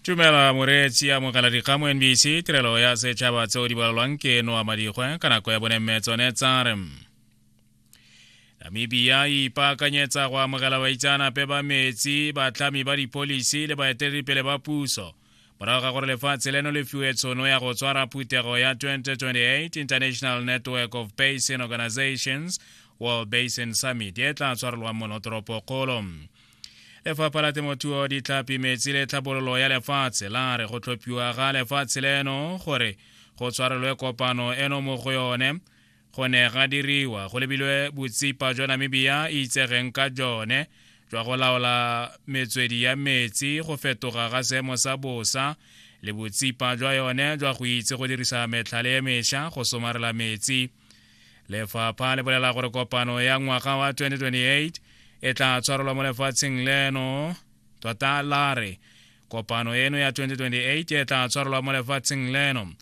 Tumela moreetsi, amogela dikgang mo NBC, tirelo ya setšhaba tseo di balelwang ke Noa Madikgwe ka nako ya bone mme tsone tsa re Namibia e ipaakanyetsa go amogela baitseanape ba metsi, batlhami ba dipholisi le baeteledipele ba puso morago ga gore lefatshe leno le fiwe tshono ya go tshwara phuthego ya 2028 International Network of Basin Organizations World Basin Summit e tla tshwarelwang mono toropokgolo. Lefapha la Temothuo, Ditlhapi, Metsi le Tlhabololo ya Lefatshe la re go tlhophiwa ga lefatshe leno gore go tshwarelwe kopano eno mo go yone go ne ga diriwa go lebilwe botsipa jwa Namibia e itsegeng ka jone jwa go laola metswedi ya metsi, go fetoga ga seemo sa bosa le botsipa jwa yone jwa go itse go dirisa metlhale e mesha go somarela metsi. Lefapha le bolela gore kopano ya ngwaga wa 2028 e tla tshwarelwa mo lefatsheng leno. Tota la re kopano eno ya 2028 e tla tshwarelwa mo lefatsheng leno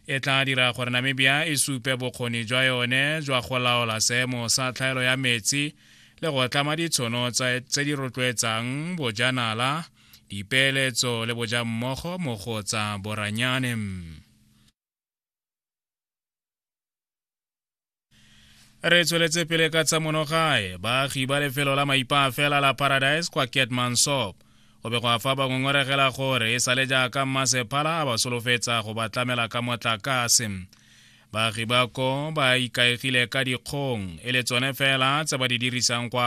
e tla dira gore Namibia e supe bokgoni jwa yone jwa go laola seemo sa tlhaelo ya metsi le go tlama ditshono tse di rotloetsang bojanala, dipeeletso le bojammogo mo go tsa boranyane. Re tsweletse pele ka tsa monogae. Baagi ba lefelo la maipaafela la Paradise kwa Keetmanshoop go begwa fa ba ngongoregela gore e sale jaaka mmasepala a ba solofetsa go ba tlamela ka motlakase. Baagi ba ko ba ikaegile ka dikgong e le tsone fela tse ba di dirisang kwa